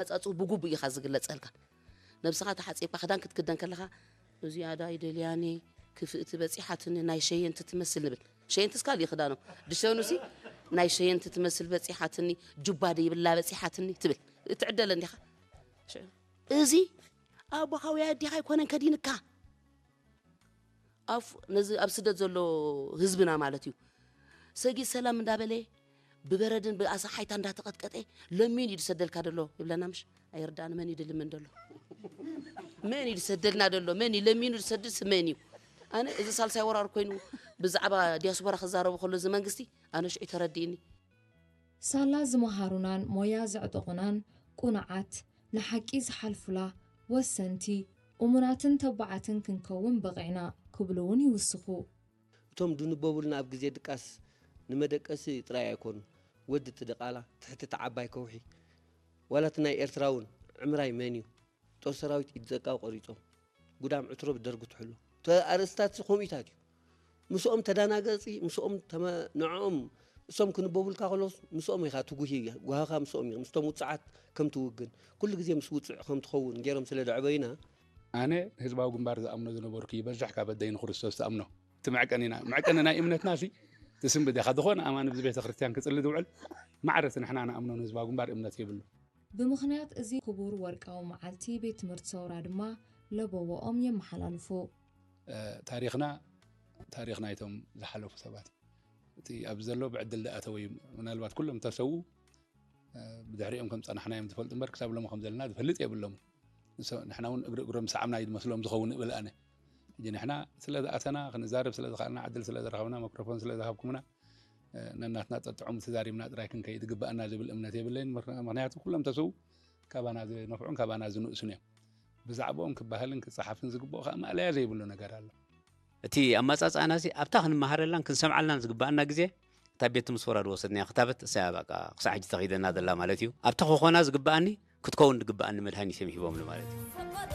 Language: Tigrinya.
መጻጽኡ ብጉቡእ ኢኻ ዝግለጸልካ። ነብስኻ ተሓጺብካ ክዳን ክትክደን ከለኻ፣ "እዚኣ ዳ ኣይደልያኒ፣ ክፍእቲ በጺሓትኒ፣ ናይ ሸየንቲ ትመስል" ንብል። ሸየንትስ ካልእ ክዳኖም። ድሸኑሲ፣ "ናይ ሸየንቲ ትመስል በጺሓትኒ፣ ጁባ ደይብላ በጺሓትኒ" ትብል። ትዕደለ እንዲኻ። ሸ-፣ እዚ ኣቦኻ ወይ ኣዴኻ ኣይኮነን ከዲንካ። ኣፍ-፣ ነዚ ኣብ ስደት ዘሎ ህዝብና ማለት እዩ። ሰጊድ ሰላም እንዳበለ፣ ብበረድን ብኣሳሓይታ እንዳተቐጥቀጠ፣ ለሚኑ እዩ ዝሰደልካ ዘሎ ይብለና ምሽ? ኣይርዳእን፣ መን እዩ ድልምን ዘሎ? መን እዩ ዝሰደልና ዘሎ? መን እዩ ለሚኑ ዝሰድስ? መን እዩ? ኣነ እዚ ሳልሳይ ወራር ኮይኑ ብዛዕባ ዲያስፖራ ክዛረቡ ከሎ እዚ መንግስቲ፣ ኣነ ሽዑ ተረዲእኒ። ሳላ ዝመሃሩናን ሞያ ዘዕጠቑናን ቁኑዓት፣ ንሓቂ ዝሓልፉላ፣ ወሰንቲ፣ እሙናትን ተባዓትን ክንከውን በቒዕና ክብሉ እውን ይውስኹ። እቶም ድንበቡልና ኣብ ግዜ ድቃስ ንመደቀሲ ጥራይ ኣይኮኑን። ወዲ እቲ ድቓላ፣ ትሕቲ እቲ ዓባይ ከውሒ፣ ዋላ እቲ ናይ ኤርትራ እውን ዕምራይ መን እዩ? ጦር ሰራዊት ኢድ ዘቃው ቆሪጾም፣ ጉዳም ዕትሮ ብደርጊ ትሕሎ። እተ ኣርእስታት ከምኡታት እዩ። ምስኦም ተዳናገጺ፣ ምስኦም ተመ-፣ ንዕኦም እሶም ክንበቡልካ ከለስ ምስኦም ኢኻ ትጉሂ፣ ጓህኻ ምስኦም እዩ። ምስቶም ውጽዓት ከም ትውግን፣ ኩሉ ግዜ ምስ ውጽዕ ከም ትኸውን ገይሮም ስለ ደዕበዩና፣ ኣነ ህዝባዊ ግንባር ዝኣምኖ ዝነበርኩ ይበዝሕ ካብ ኣደይ ንክርስቶስ ትኣምኖ። እቲ መዕቀኒና፣ መዕቀኒ ናይ እምነትና ሲ ትስንብድ ኢኻ። ዝኾነ ኣማኒ ብዚ ቤተ ክርስቲያን ክጽሊ ዝውዕል ማዕረ እቲ ንሕና ንኣምኖ ንህዝባዊ ግንባር እምነት የብሉ። ብምኽንያት እዚ ክቡር ወርቃዊ መዓልቲ ቤት ትምህርቲ ሰውራ ድማ ለበወኦም የመሓላልፉ። እ፣ ታሪኽና ታሪኽ ናይቶም ዝሓለፉ ሰባት እዩ። እቲ ኣብዚ ዘሎ ብዕድል ዝኣተወ እዩ። ምናልባት ኩሎም ተሰዉ፣ እ፣ ብድሕሪኦም ከም ጸናሕና እዮም ዝፈልጡ እምበር ክሳብ ሎሚ ከም ዘለና ዝፈልጥ የብሎም። ንሶ-፣ ንሕና እውን እግሪ እግሮም ሰዓምና እዩ ዝመስሎም ዝኸውን እብል ኣነ። ሕጂ ንሕና ስለ ዝኣተና፣ ክንዛረብ ስለ ዝኸኣልና፣ ዕድል ስለ ዝረኸብና፣ ማይክሮፎን ስለ ዝሃብኩምና፣ እ፣ ነናትና ጠጥዑም ተዛሪብና ጥራይ ክንከይድ ግባኣና ዝብል እምነት የብለይን። ምኽ-፣ ምኽንያቱ ኩሎም ተሰዉ ካባና ዝነፍዑን ካባና ዝንእሱን እዮም። ብዛዕባኦም ክበሃልን ክጸሓፍን ዝግብኦ ከዓ ማእለያ ዘይብሉ ነገር ኣሎ። እቲ ኣመጻጽኣና እዚ ኣብታ ክንመሃረላን ክንሰምዓላን ዝግባኣና ግዜ እታ ቤት ትምህርቲ ሰውራ ዝወሰድናያ ክታበት እሳ እያ በቃ ክሳዕ ሕጂ ተኺደና ዘላ ማለት እዩ። ኣብታ ክኾና ዝግባኣኒ ክትከውን ዝግባኣኒ መድሃኒት እዮም ሂቦምኒ ማለት እዩ።